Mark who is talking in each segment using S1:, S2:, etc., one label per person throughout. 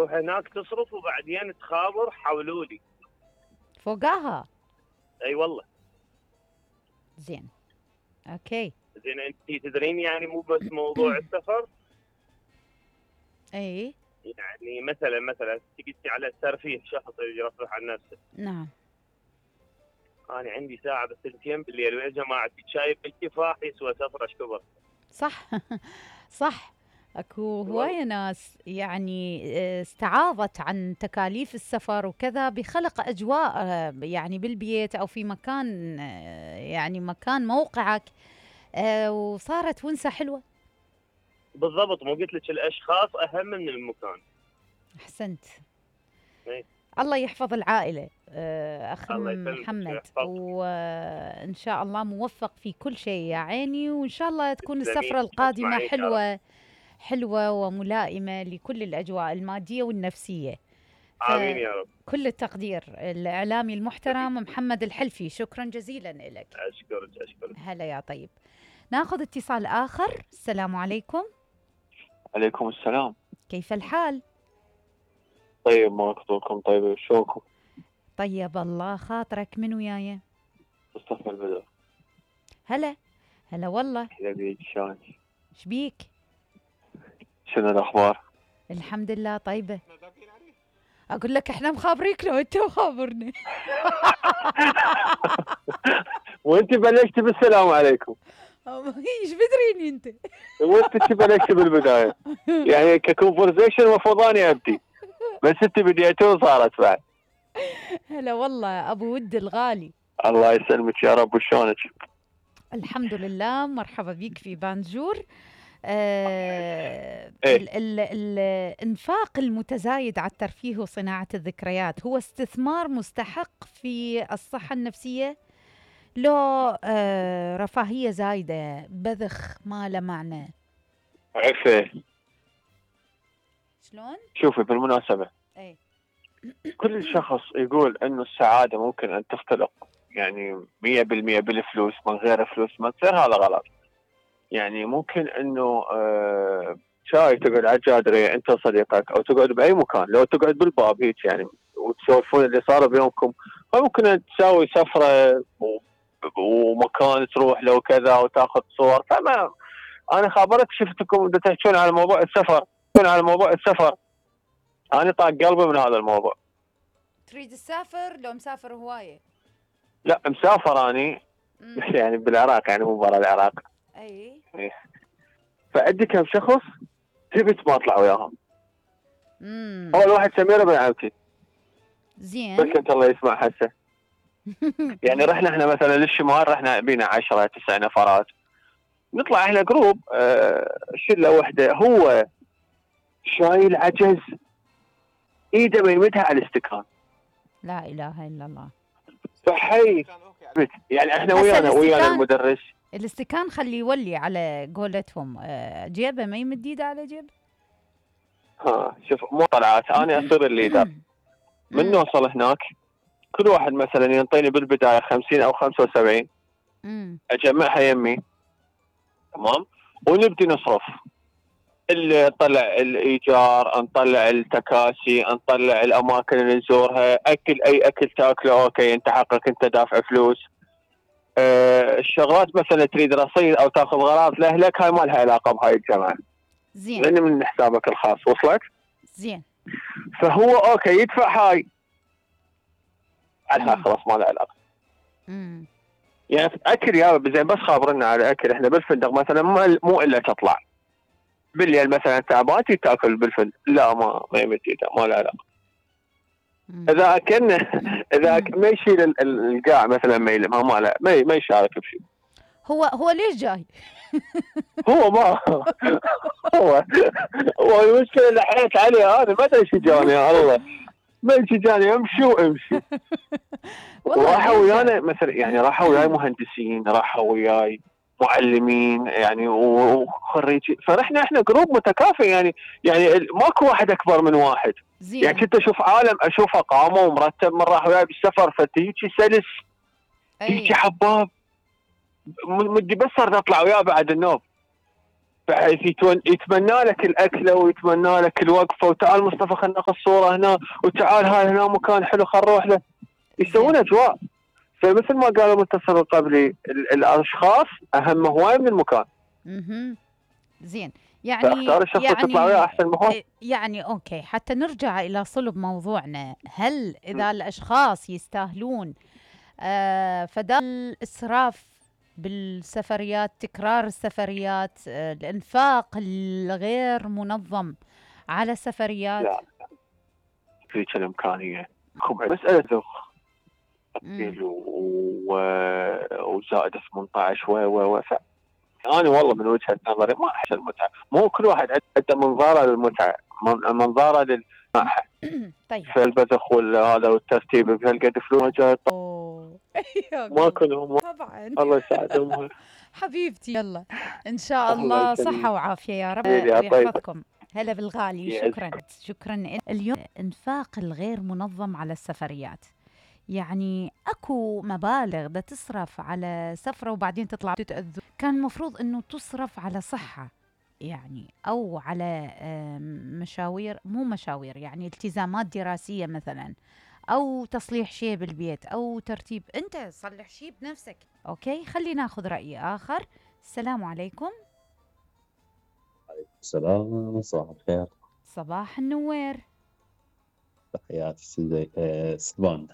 S1: تروح هناك تصرف وبعدين تخابر حولولي
S2: فوقاها.
S1: اي والله.
S2: زين اوكي.
S1: زين انت تدرين يعني مو بس موضوع السفر،
S2: اي
S1: يعني مثلا تقلتي على الترفيه، شخص يرفه عن نفسه.
S2: نعم.
S1: انا عندي ساعه بس 2 بالليل ويا جماعه شايب الكفاح يسوى سفره كبر.
S2: صح صح. اكو هوايه ناس يعني استعاضت عن تكاليف السفر وكذا بخلق اجواء يعني بالبيت او في مكان يعني مكان موقعك وصارت ونسه حلوه.
S1: بالضبط، مو قلت لك الاشخاص اهم من المكان.
S2: احسنت.
S1: ايه.
S2: الله يحفظ العائله اخ
S1: الله
S2: محمد، وان شاء الله موفق في كل شيء يا عيني، وان شاء الله تكون السفره القادمه حلوه وملائمه لكل الاجواء الماديه والنفسيه.
S1: امين يا رب.
S2: كل التقدير. الاعلامي المحترم محمد الحلفي، شكرا جزيلا لك.
S1: اشكرك.
S2: هلا يا طيب. ناخذ اتصال اخر. السلام عليكم.
S3: عليكم السلام.
S2: كيف الحال؟
S3: طيب، ما خطوركم طيب، شلونكم؟
S2: طيب الله خاطرك. من وياي؟
S3: مصطفى البدر.
S2: هلا والله.
S3: بيك شلونك؟
S2: شبيك؟
S3: شنو الاخبار؟
S2: الحمد لله طيبه. اقول لك احنا مخابريك لو انت مخابرني.
S3: وانت بلشتي بالسلام عليكم.
S2: ايش بدريني انت؟
S3: وانت بلشتي بالبدايه يعني ككونفرزيشن المفروض اني ابدي، بس انت بديتي وصارت بعد.
S2: هلا والله ابو ود الغالي.
S3: الله يسلمك يا رب. وشلونك؟
S2: الحمد لله. مرحبا بك في بانجور. الانفاق المتزايد على الترفيه وصناعة الذكريات هو استثمار مستحق في الصحة النفسية، لو رفاهية زايدة بذخ ما له معنى؟
S3: عفه.
S2: شلون؟
S3: شوفي بالمناسبة كل شخص يقول انه السعادة ممكن ان تختلق يعني 100% بالفلوس، من غير فلوس ما تصير، هذا غلط. يعني ممكن انه شاي تقعد على الجادرية انت وصديقك، او تقعد باي مكان، لو تقعد بالباب هيك يعني وتسولفون اللي صار بيومكم، فممكن ان تسوي سفرة ومكان تروح له كذا وتاخذ صور. فما انا خابرت شفتكم تحكون على موضوع السفر، انا طاق قلبي من هذا الموضوع.
S2: تريد تسافر؟ لو مسافر هوايه؟
S3: لا مسافر اني يعني بالعراق، يعني مو برا العراق.
S2: اي.
S3: فعندي كم شخص تبت ما اطلع وياهم. اول واحد سميره بن عمتي.
S2: زين.
S3: بس انت الله يسمع حسه. يعني رحنا احنا مثلا للشمال، رحنا بينا 10 9 نفرات، نطلع احنا جروب شله وحده، هو شايل عجز ايده ما يمدها على الاستكان.
S2: لا اله الا الله.
S3: صحي. يعني احنا ويانا المدرس.
S2: الاستكان خليه يولي على قولتهم جيبه ما يمد ايده على جيبه.
S3: شوف مو طلعات، انا اصير الليدر. من نوصل هناك كل واحد مثلا ينطيني بالبدايه 50 او 75، اجمعها يمي تمام، ونبدي نصرف. اللي نطلع الايجار، نطلع التكاسي، نطلع الاماكن اللي نزورها، اكل اي اكل تاكله اوكي انت حقك انت دافع فلوس. الشغلات مثلا تريد رصيد او تاخذ غراض لاهلك، هاي ما لها علاقه بهاي الجماعه.
S2: زين.
S3: لان من حسابك الخاص. وصلك؟
S2: زين.
S3: فهو اوكي يدفع هاي عنها خلاص ما لها علاقه. يعني اكل يا زين، بس خابرنا على اكل. احنا بالفندق مثلا مو الا تطلع بالليل مثلا تعبان تاكل بالفندق، لا ما يمد ايده، ما له علاقه. اذا اكلنا ما يشيل القاع مثلا ما يلمها، ما يشارك بشيء.
S2: هو ليش جاي؟
S3: هو ما هو المشكله اللي حيت عليه انا ما ادري ايش جاني يا الله، ما ايش جاني امشي. راحوا ويانا مثلا، يعني راحوا وياي مهندسين، راحوا وياي معلمين يعني وخريجين، فرحنا احنا جروب متكافئ يعني ماكو واحد اكبر من واحد.
S2: زين.
S3: يعني كنت اشوف عالم اشوفه قامه ومرتب من راح وياي بالسفر، فتيجي سلس تيجي حباب، مدي بس صرت اطلع وياه بعد النوم. بحيث يتمنى لك الاكله ويتمنى لك الوقفه، وتعال مصطفى خلينا ناخذ صوره هنا، وتعال هاي هنا مكان حلو خلينا نروح له، يسوون اجواء. فمثل ما قال المتصل القبلي الاشخاص اهم هواي من المكان.
S2: زين، يعني
S3: فاختار الشخص اللي تطلع وياه احسن ما هو.
S2: يعني اوكي، حتى نرجع الى صلب موضوعنا، هل اذا الاشخاص يستاهلون فدال الاسراف بالسفريات، تكرار السفريات، الانفاق الغير منظم على السفريات؟
S3: لا فيك الامكانيه، مساله ذوق وزائد 18 و انا والله من وجهه نظري ما احسن المتعه، مو كل واحد عنده منظاره للمتعه، منظاره للراحه.
S2: طيب
S3: فالبذخ هذا والترتيب بهالقد فلوس ما كلهم
S2: طبعا.
S3: الله يساعدهم.
S2: حبيبتي يلا ان شاء الله صحه وعافيه يا رب ويحفظكم. هلا بالغالي، شكرا. اليوم انفاق الغير منظم على السفريات، يعني اكو مبالغ بدها تصرف على سفره وبعدين تطلع تتاذوا. كان المفروض انه تصرف على صحه يعني، او على مشاوير، مو مشاوير يعني التزامات دراسيه مثلا، او تصليح شيء بالبيت، او ترتيب. انت صلح شيء بنفسك. اوكي، خلينا ناخذ راي اخر. السلام عليكم.
S4: عليكم السلام، صباح الخير.
S2: صباح النوير.
S4: تحياتي سلمان.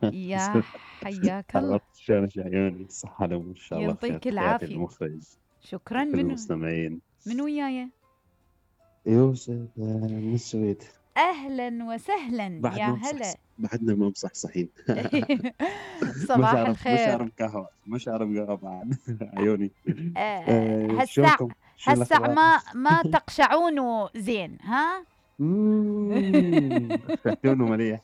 S2: يا حياك الله.
S4: شلونك عيوني؟ الصحة لهم ان شاء الله.
S2: يعطيك العافية.
S4: المخرج
S2: شكرا.
S4: من المستمعين.
S2: من وياي؟
S4: يوسف من السويد.
S2: اهلا وسهلا يا هلا.
S4: بعدنا ما مصحصحين.
S2: صباح الخير.
S4: مش عارف قهوة بعد. عيوني.
S2: هالساعة ما تقشعونه زين ها؟
S4: عيونه مليح.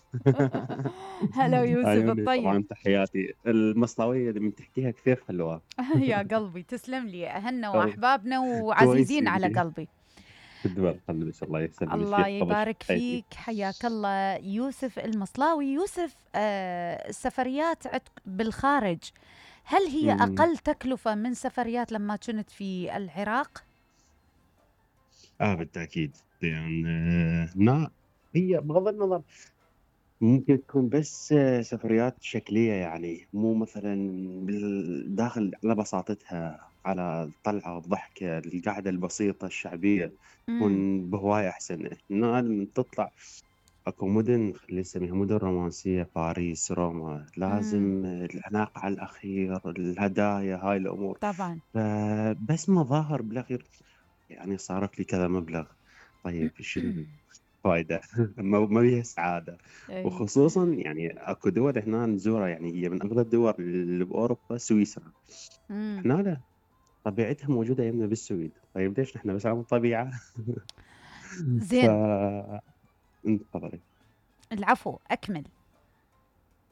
S2: هلا يوسف الطيب.
S4: طبعا تحياتي. المصلاوية اللي من تحكيها كثير حلوة.
S2: يا قلبي تسلم لي، اهلنا واحبابنا وعزيزين على قلبي.
S4: الله يسلمك.
S2: الله يبارك فيك، حياك الله. يوسف المصلاوي. يوسف، السفريات بالخارج هل هي أقل تكلفة من سفريات لما كنت في العراق؟
S4: بالتأكيد، يعني هي بغض النظر ممكن تكون بس سفريات شكلية، يعني مو مثلا بالداخل على بساطتها، على الطلعة والضحكة، القعدة البسيطة الشعبية تكون بهواية أحسن. لما تطلع أكو مدن خلينا نسميها مدن رومانسية، باريس، روما، لازم العناق على الأخير، الهدايا، هاي الأمور
S2: طبعا.
S4: بس مظاهر بالأخير يعني صارت لي كذا مبلغ. طيب شنو فايدة؟ ما فيها سعادة. وخصوصا يعني اكو دول هنا نزورها، يعني هي من افضل الدول اللي باوروبا، سويسرا. هنا لا، طبيعتها موجودة يمنا بالسويد. طيب ليش نحن بس عن الطبيعة؟
S2: زين.
S4: تفضلي.
S2: العفو، اكمل.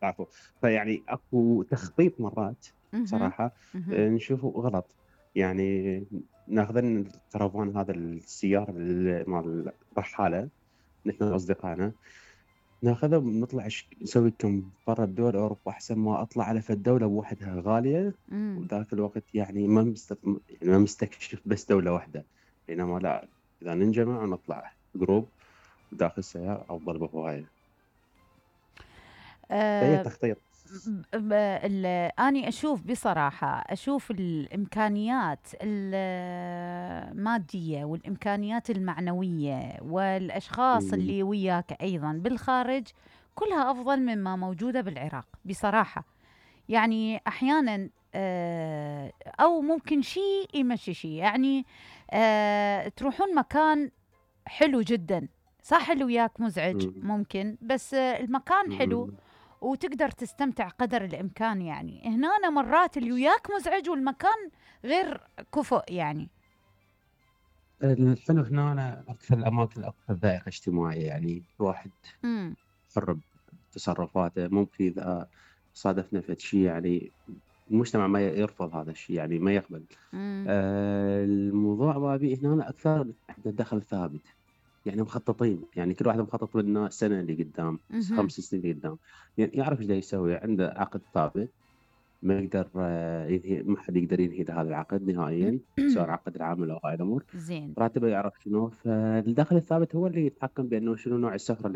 S4: العفو. فيعني اكو تخطيط مرات صراحة نشوفه غلط، يعني ناخذين الكرفان هذا السيارة مال الرحالة نحن واصدقائنا، ناخذها ونطلع نسوي كم برا الدول اوروبا، احسن ما اطلع على فد دوله بوحدها غاليه. وذاك الوقت يعني ما مستكشف بس دوله واحده، بينما لا، اذا ننجمع نطلع جروب داخل السياره افضل بهوايه. هي تخطيط.
S2: أنا أشوف بصراحة، أشوف الإمكانيات المادية والإمكانيات المعنوية والأشخاص اللي وياك أيضا بالخارج كلها أفضل مما موجودة بالعراق بصراحة. يعني أحيانا أو ممكن شيء يمشي شيء، يعني تروحون مكان حلو جدا، صح اللي وياك مزعج ممكن، بس المكان حلو وتقدر تستمتع قدر الإمكان. يعني هنا مرات اللي وياك مزعج والمكان غير كفؤ. يعني
S4: الحلو هنا أكثر الأماكن أكثر ذائقة اجتماعية، يعني واحد حر بتصرفاته. ممكن إذا صادفنا في شيء يعني المجتمع ما يرفض هذا الشيء، يعني ما يقبل. الموضوع بابي هنا أكثر دخل ثابت، يعني مخططين، يعني كل واحد مخطط لنا سنة اللي قدام، 5 سنين اللي قدام، يعني يعرف ايش دا يسوي، عنده عقد ثابت ما يقدر ينهي، ما حد يقدر ينهي له هذا العقد نهائيا، سواء عقد العمل او هاي الامور.
S2: زين.
S4: راتبه يعرف شنو، فالدخل الثابت هو اللي يتحكم بانه شنو نوع السفره